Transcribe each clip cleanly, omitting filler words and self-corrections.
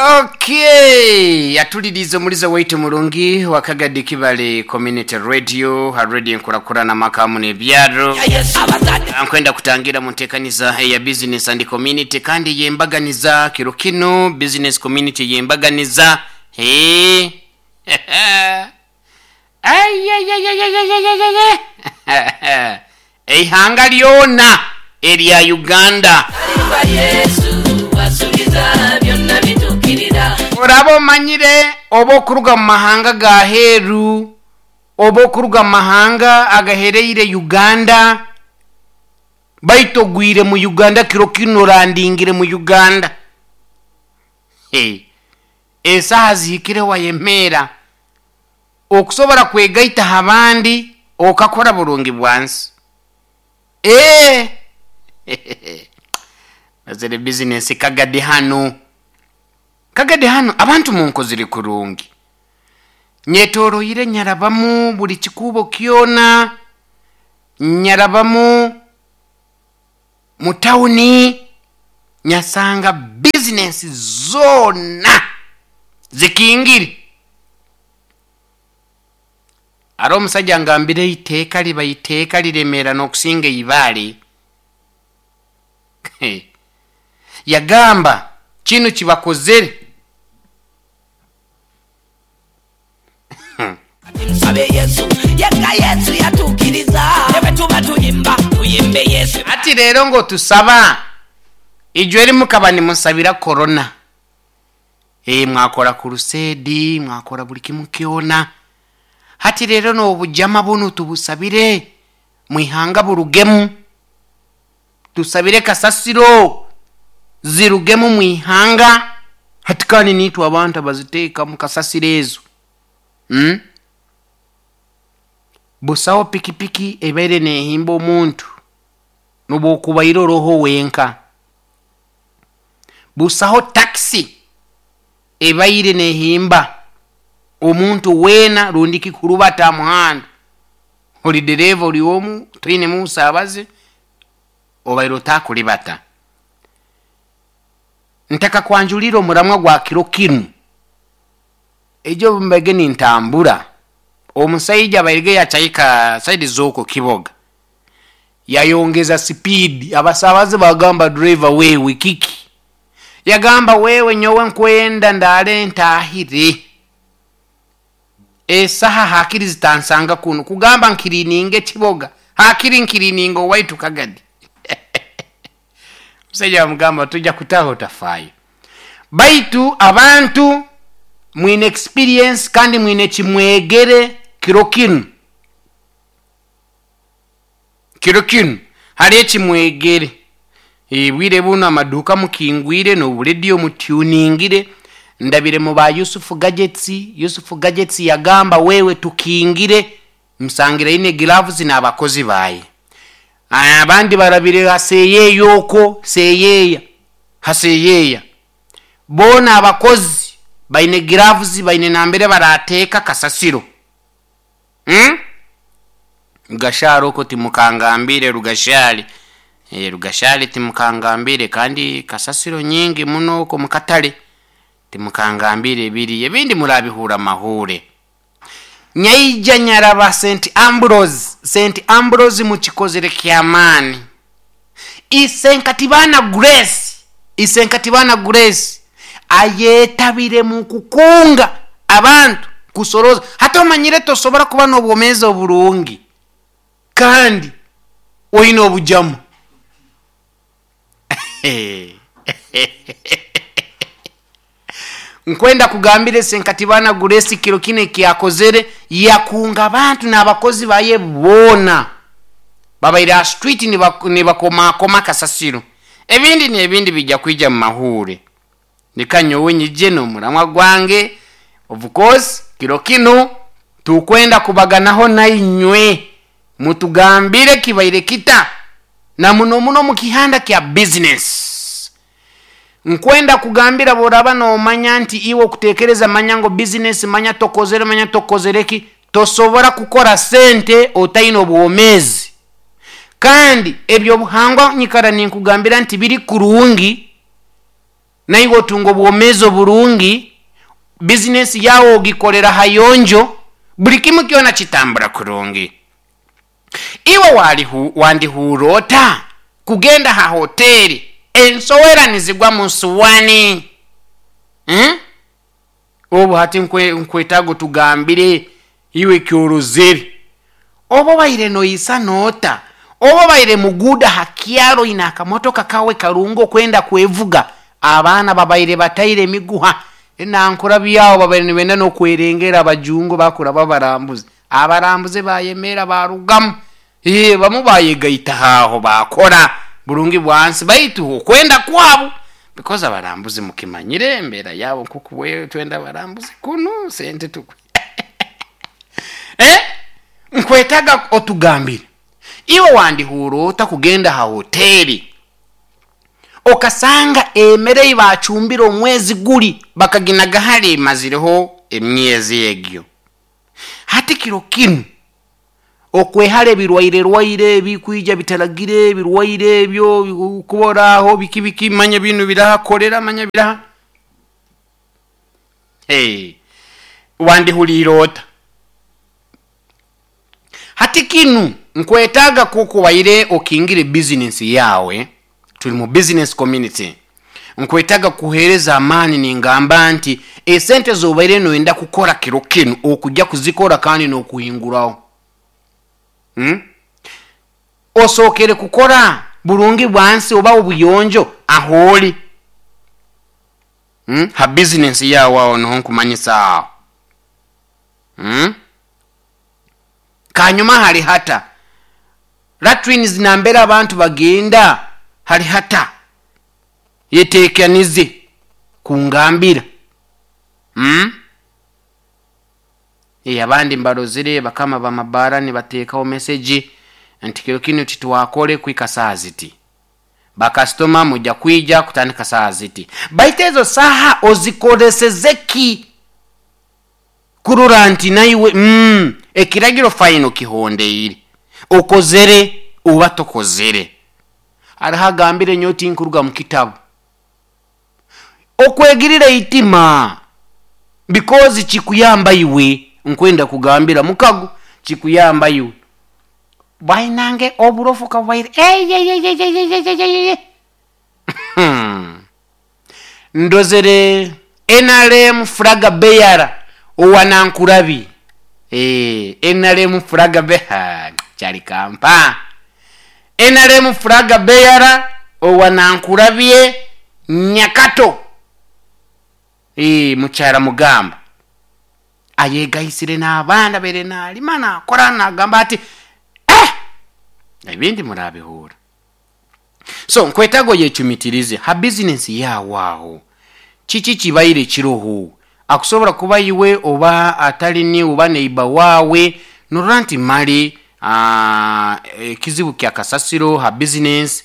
Okay, yatuliriza omulizo waitu murungi wa Kagadi Kibale Community Radio, ha radio enkurakurana makamu n'ebyaro. Nkwenda kutangira mu nteekaniza eya business and community, kandi yembaganiza kiro kino business community yembaganiza. Hey. Ay, ay, ay, ay, ay, ay, ay, ay, ay. Eihanga lyona erya Uganda. Oraba omanyire oba okuruga mu mahanga ga heeru, oba okuruga mu mahanga agahereire Uganda, baitu ogwire mu Uganda kiro kinu, orandingire mu Uganda. Hey. Esaha zihikire wayemeera okusobora kwegaita ha bandi okakora burungi bwansi. Mazire business Kagadi hanu. Kagadi hanu abantu munkozire kurungi. Nyetoroire nyarabamu buli kikubo kyona, nyarabamu mu tawuni, nyasanga business zona zikingire. Ari omusajja ngambire iteeka liba iteeka liremera n'okusinga eibaale. Yagamba kinu kibakozere. Msabe Yesu, yeka Yesu yatukiriza. Ebe tuba tuyimba, tuyimbe Yesu. Ati rero ngo tusaba ijwe eri mukaba nimusabira corona. Mwakora crusade, mwakora buli kimu kyona. Hati rero n'obujama buno tubusabire mwihanga burugemu, tusabire kasasiro zirugemu mwihanga. Hati kandi nitwe abantu abaziteeka mu kasasiro ezo. Busaho pikipiki ebaire nehimba omuntu nobwokubaire oroho wenka. Busaho taxi ebaire nehimba omuntu wena rundi kikurubata muhanda. Oli dereva oli omu toine musabaze obaire otakulibata. Ntaka kwanjulira omuramwa gwa kiro kinu. Ejo mbege nintambura omusaija bairige yachaika side zoko kiboga, yayongeza speed. Abasabaze bagamba driver wewe kiki? Yagamba wewe nyowe nkwenda ndale ntahire esaha hakiri zitansanga kuno kugamba nkirininge kiboga hakiri nkirininge owaitu Kagadi. Musaija bamugamba tujja kutaho tafayo. Baitu abantu mwine experience kandi mwine kimwegere kiro kinu. Kiro kinu hari ekimwegere. Bwire buno amaduka mukingwire n'oburedio mutuningire. Ndabire mu ba Yusufu Gadgets. Yusufu Gadgets yagamba wewe tukingire msangire ine gloves n'abakozi baye. Abandi barabire haseye yoko seyeya haseyeya bona abakozi baine gloves baine nambere barateka kasasiro. Rugashari oko timukangambire Rugashari. Rugashari timukangambire kandi kasasiro nyingi muno oko mukatale timukangambire biri ebindi murabihura mahure. Nyaija nyaraba St Ambrose, St Ambrose mukikozere kyamani. Isenkatibana Grace, Isenkatibana Grace ayetabire mu kukunga abantu kusoroza. Hata omanyire tosobora kuba n'obwomezi oburungi kandi oyina obujamu. Nkwenda kugambire Senkatibana Grace kiro kine kyakozere, yakunga abantu n'abakozi baye bona babaire a street nibakomakoma kasasiro. Ebindi n'ebindi bijja kwija mu mahure. Nikanyowe nyije n'omuramwa gwange. Of course kiro kino tukwenda kubaganaho nainywe mutugambire kibaire kita na muno muno mu kihanda kya business. Nkwenda kugambira boraba nomanya nti iwe okutekereza manya ngo business manya tokozere manya tokozereki tosobora kukora sente otaina obwomezi. Kandi ebyo buhangwa nyikara ninkugambira nti biri kurungi. Naiwe otunga obwomeezi oburungi, bizinesi yawe ogikolera hayonjo, buli kimu kyona kitambura kurungi. Iwe wandihuura ota kugenda ha hoteri ensowera nizigwa mu nsuwani? Obu hati nkwetaaga otugambire iwe kyorozere. Oba obaire noisa noota, oba obaire muguuda ha kyaro oine akamotoka kawe karungi okwenda kwevuga, abaana babaire bataire emiguha enankurabyaho babaire nibenda n'okwerengera abajungu bakuraba abarambuzi. Abarambuzi bayemera barugamu. Bamu bayegaita aho bakora burungi bwansi baitu okwenda kwabo because abarambuzi mukimanyire embeera yabo nkoku twenda abarambuzi kunu sente tukwe. Nkwetaga otugambire iwe wandihuura ota kugenda ha hoteri okasanga emere ei bacumbire omwezi guri bakaginaga hali emazireho emyezi egyo. Hati kiro kinu okwehara ebirwaire rwaire ebikwija bitaragire ebirwaire ebyo kuboraho biki biki manya binu birahakorera manya biraha. Hey, wandihuliire ota? Hati kinu nkwetaaga kuko waire okingire business yawe, tuli mu business community. Nkwetaaga kuhereza amaani ningamba nti esente zobaire noyenda kukora kiro kinu okujja kuzikora kandi nokuhinguraho. Osokere kukora burungi bwansi oba obuyonjo aholi. Ha business yawe aho niho nkumanyisa aho. Kanyuma hari hata latrines nambera abantu bagenda hari hata yetekanize kungambira. Abandi mbarozire bakama bamabara nibatekaho message nti kiro kinu titwakore kwika saa ziti, bakasitoma mujja kwija kutandika saa ziti, baitu ezo saha ozikolesezeki kurora nti naiwe ekiragiro faino kihondeire okozere oba tokozere. Hariho agambire nyowe tinkuruga mu kitabu okwegirira itima because kikuyamba iwe, nkwenda kugambira mukago kikuyamba iwe bainange oburofu kabaire eyeyeyeyeyeyeyeye. Ndozere NRM flag bearer owanankurabi. NRM flag bearer kyali kampa. NRM flag bearer owanankurabye Nyakato. Mukyara mugamba ayegaisire n'abaana bere nalima nakora nagamba ati ebindi murabihura. So nkwetago yechumitirize ha business yawe aho kiki kibaire kiroho akusobora kuba iwe oba atali ni oba neiba wawe norora nti mali ekizibu kya kasasiro ha business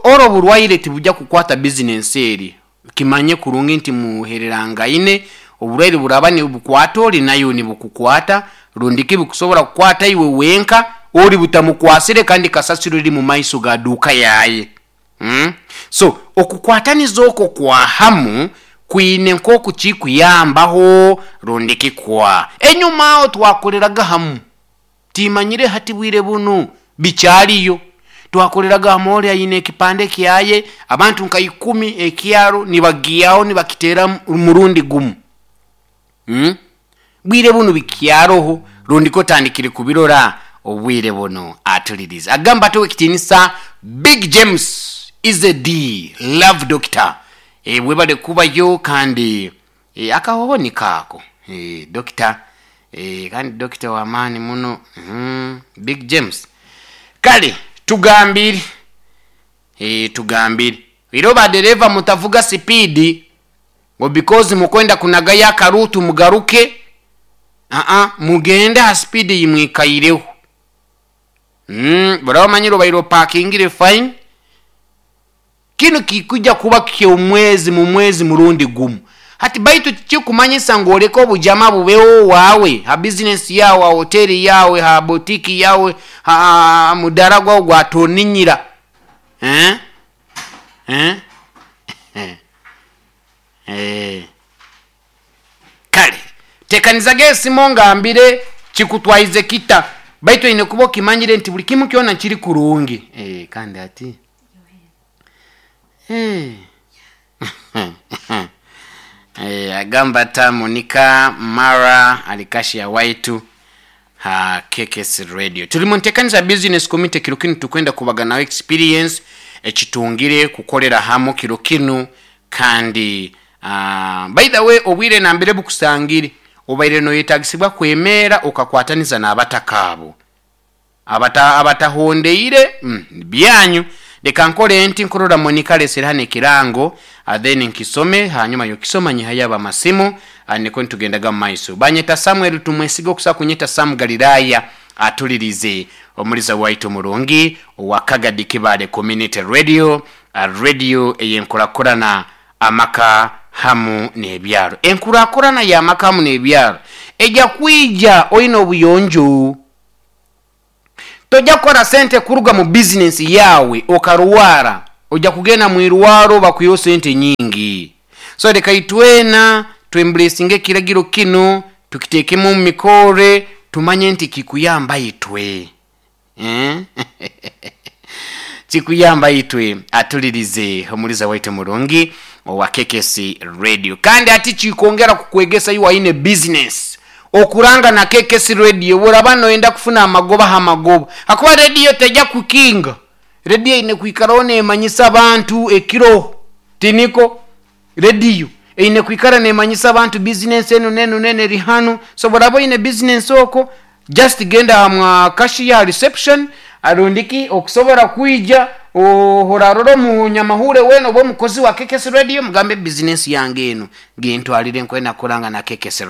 oro burwaire tibujja kukwata business eri kimanye kurungi nti muhererangaine oburwaire buraba ni bukwata ori nayo ni bukukwata rundi kibukusobora kukwata iwe wenka ori butamukwasire kandi kasasiro eri mu maiso ga duka yaye. So okukwataniza okwo kwa hamu kwine nkoku kikuyambaho rundi kikwa enyuma aho twakoreraga hamu timanyire hati bwire bunu bikyaliyo twakoreraga hamu ori ayine ekipande kyaye abantu nka 10 ekyaro nibagiyaho nibakitera murundi gumu. Bwire bunu bikyaroho rundi kotandikire kubirora obwire buno atuliriza agamba tuwe kitinisa Big James is a D love doctor. Webale kubayo kandi akahoho ni kako doctor kandi doctor wa amani muno. Big James kale tugambire tugambire iroba dereva mutavuga speed ngo because mukwenda kunagaya akarutu mugaruke mugende ha speed yimwikaireho. Bora manyiro bairo parkingire fine kinu kikuja kuba kyomwezi mu mwezi murundi gumu hati baitu kikumanyisa ngoleko obujama bubeho wawe ha business yawe ha hoteli yawe ha boutique yawe ha mudara gwa gwatoninyira. Eh. Kale tekanizaga esimu ngambire kikutwaize kita, baitu oine kuba okimanyire nti buli kimu kyona kiri kurungi. Kandi ati agamba ta Monica Mara alikashia waitu ha KKS Radio. Tuli mu ntekaniza business committee kiro kinu, tukwenda kubaganaho experience ekitungire kukolera hamu kiro kinu. Kandi by the way, obwire nambere bukusangire obaire noyetagisibwa kwemera okakwataniza n'abataka abo abatahondeire byanyu. Leka nkole nti nkurora Monica alesere hano ekirango, then nkisome, hanyuma yokisoma nyihayo amasimu, niko nitugendaga mu maiso. Banyeta Samuel Tumwesiga, okusa kunyeta Sam Galilaya, atulirize omuliza waitu murungi owa Kagadi Kibale Community Radio, radio eyenkurakurana amaka hamu n'ebyaro. Enkurakurana y'amaka hamu n'ebyaro ejja kwija oine obuyonjo. Tojja kukora sente kuruga mu bizinesi yawe okarwara, ojja kugenda mu irwaro bakwiho sente nyingi. So leka itwena twembulesinga ekiragiro kino, tukitekemu mu mikore, tumanye nti kikuyamba itwe. Kikuyamba itwe. Atulirize omuliza waitu murungi owa KKC Radio. Kandi ati kikwongera kukwegesa iwe aine business okuranga na KKC Radio, buraba noyenda kufuna amagoba ha magoba, hakuba radio tejja kukinga. Radio ine kwikaraho nemanyisa abantu ekiro tiniko. Radio eine kwikara nemanyisa abantu business enu nenu nene eri hanu. So buraba oine business oko, just genda mwa cashier reception, arundiki okusobora kwija ohorarora omunyamahure wena oba omukozi wa KKC Radio, mugambe business yange eno gintwalire nkwenda kuranga na KKC.